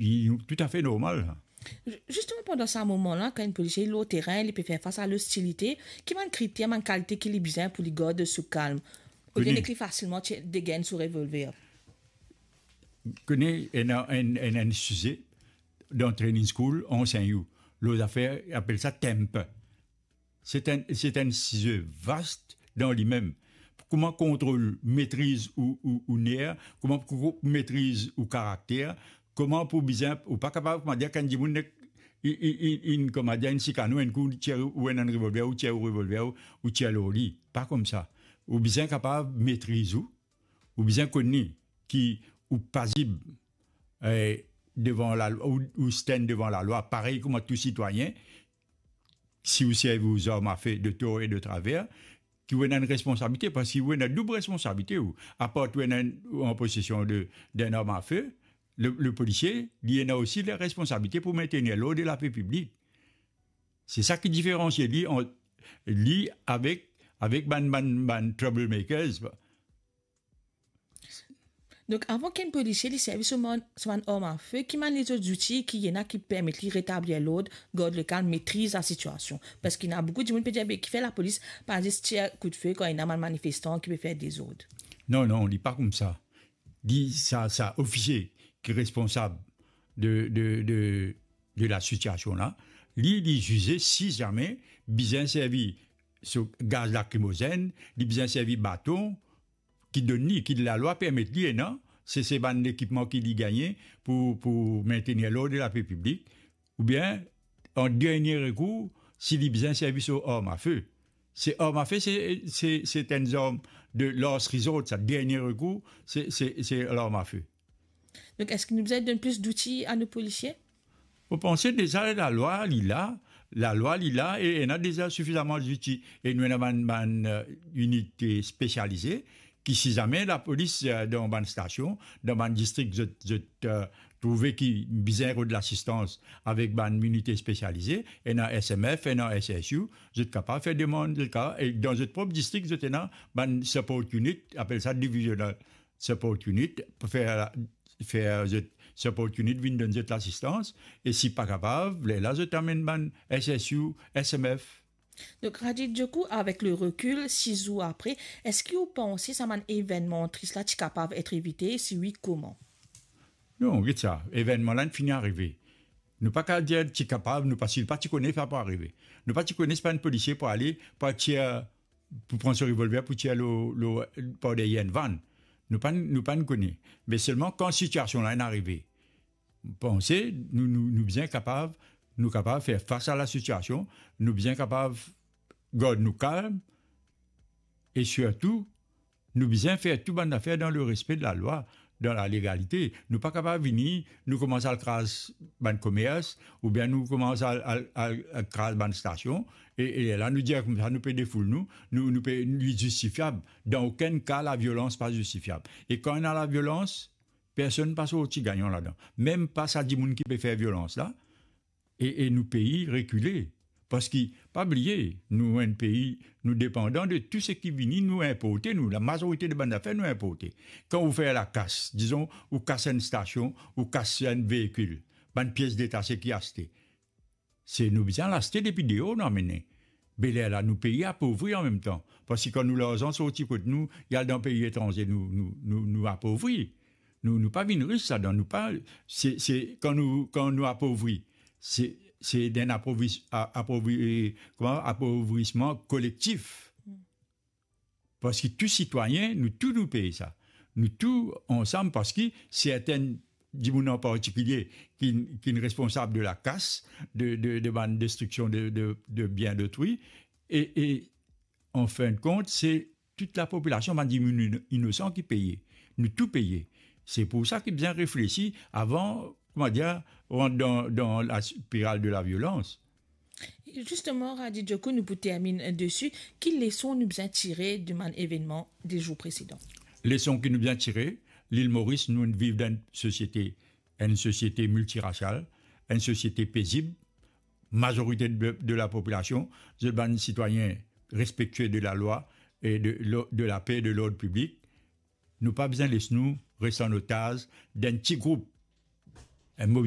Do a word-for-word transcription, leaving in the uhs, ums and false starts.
li toutafe normal. Zisteman, pandan sa moman la, kan enn polisie lor terin, li pe fer fas a lostilite, ki bann kriter, bann kalite ki li bizin pou li gard so kalm? Oubien li fasilman tir, degenn so revolver? Kone, ena enn, enn, enn size dan training school, ansenn ou. Lor zafer, apel sa temper. Se enn, se enn size vas dan limem. Kouma kontrol, metriz ou, ou, ou ner, kouma pou metriz ou karakter, kouma pou bizin, ou pa kapav, kouma dir, kan dimoun nek, i, i, i, inn, kouma dir, inn sikann ou, enn kou ou tir ou enn revolver, ou tir ou revolver, ou, ou tir lor li. Pa koumsa. Ou bizin kapav metriz ou, ou bizin kone ki ou pazib, eh, devan lalwa, ou, ou stand devan lalwa, parey kouma tou sitwayin, si ou servi ou zarm afe de tor e de traver, ki ou ena enn responsabilite, parski ou ena doub responsabilite ou. Apar ou ena enn, ou an posesion de, d'enn arm afe, le, le polisie, li ena osi le responsabilite pou mentenir lord e lape piblik. Se sa ki diferansie li ant li avek, avek bann, bann, bann troublemakers. Donk, avan ki enn polisie li servi so bann, so bann arm afe, ki bann lezot zouti ki ena ki permet li retablir lord, gard lekalm, metriz lasitiasion? Parski ena boukou dimoun pe dir, be, kifer lapolis pa zis tir koudfe kan ena bann manifestan ki pe fer dezord? Non, non, li pa koumsa. Li, sa, sa ofisie ki responsab de, de, de, de lasitiasion la, li, li zize si zame bizin servi so gaz lakrimozenn, li bizin servi baton, ki donn li, ki lalwa permet li ena, se, se bann lekipman ki li gagne pou, pou mentenir lord e lape piblik, oubien, an dernie rekour, si li bizin servi so arm afe. Se arm afe, se, se, se enn zarm de last resort, sa, dernie rekour, se, se, se larm afe. Donk, eski nou bizin donn plis zouti a nou polisie? Mo panse deza lalwa li la, lalwa li la e ena deza sifizaman zouti. E nou ena bann, bann, eh, inite spesialize ki si zame lapolis, eh, dan bann stasion, dan bann distrik, zot, zot, eh, trouve ki bizin rod lasistans avek bann inite spesialize, ena S M F, ena S S U, zot kapav fer demann, zot kapav, e dan zot prop distrik, zot ena bann support unit, apel sa divisional support unit, pou fer, fer zot support unit vinn donn zot lasistans, e si pa kapav, lerla zot amenn bann S S U, S M F. Donk, Radi Djoku, avek le rekil, sis zour apre, eski ou panse sa bann evennman tris la ti kapav et evite? Si wi, kouma? Non, get sa, evennman la inn fini arive. Nou pa kapav dir ti kapav, nou pa, si nou pa ti kone sa pou arive. Nou pa ti kone si bann polisie pou ale, pou al tir, pou pran so revolver, pou tir lor, lor, par deryer enn vann. Nou pa, nou pa kone. Me selman kan sitiasion la inn arive, mo panse nou, nou, nou bizin kapav, nou kapav fer fas a lasitiasion, nou bizin kapav gard nou kalm, e sirtou, nou bizin fer tou bann zafer dan le respe de lalwa, dan lalegalite. Nou pa kapav vini, nou koumans al kraz bann komers, oubien nou koumans al, al, al, al kraz bann stasion, e, e la nou dir koumsa nou pe defoul nou, nou, nou pe, li zistifiab. Dan okenn ka, laviolans pa zistifiab. E kan ena laviolans, personn pa sorti gagnan ladan. Mem pa sa dimoun ki pe fer violans la, e, e nou pei rekile. Parski, pa bliye, nou enn pei, nou depandan de tou seki vini, nou inporte, nou, lamazorite de bann zafer nou inporte. Kan ou fer lakas, dizon, ou kas enn stasion, ou kas enn veikil, bann pies detase ki aste, se nou bizin al aste depi deor, nou amene. Be lerla, nou pei apovri anmemtan. Parski kan nou larzan sorti kot nou, li al dan pei etranze, nou, nou, nou, nou apovri. Nou, nou pa vinn ris ladan, nou pa, se, se, kan nou, kan nou apovri, se, se enn apovris-, a-, apovri-, eh, kouma, apovrisman kolektif. Parski tou sitwayin, nou tou nou pey sa. Nou tou ansam, parski sertin dimoun an partikilie ki, ki responsab de lakas, de, de, de bann destriksion de, de, de bien dotrui, e, e, an fin de kont, se tou lapopilasion, bann dimoun ino-, inosan ki peye. Nou tou peye. Se pou sa ki bizin reflesi avan, kouma dir, rant dan, dan laspiral de laviolans. Zisteman, Radi Djoku, nou pou terminn desi, ki leson nou bizin tire de bann evennman de zour presedan? Leson ki nou bizin tire, Lil Moris, nou viv dan enn sosiete, enn sosiete miltirasial, enn sosiete pezib, mazorite de, de lapopilasion, zot bann sitwayin respektie de lalwa e de lo-, de lape e de lord piblik. Nou pa bizin les nou res an otaz d'enn ti group, enn mo,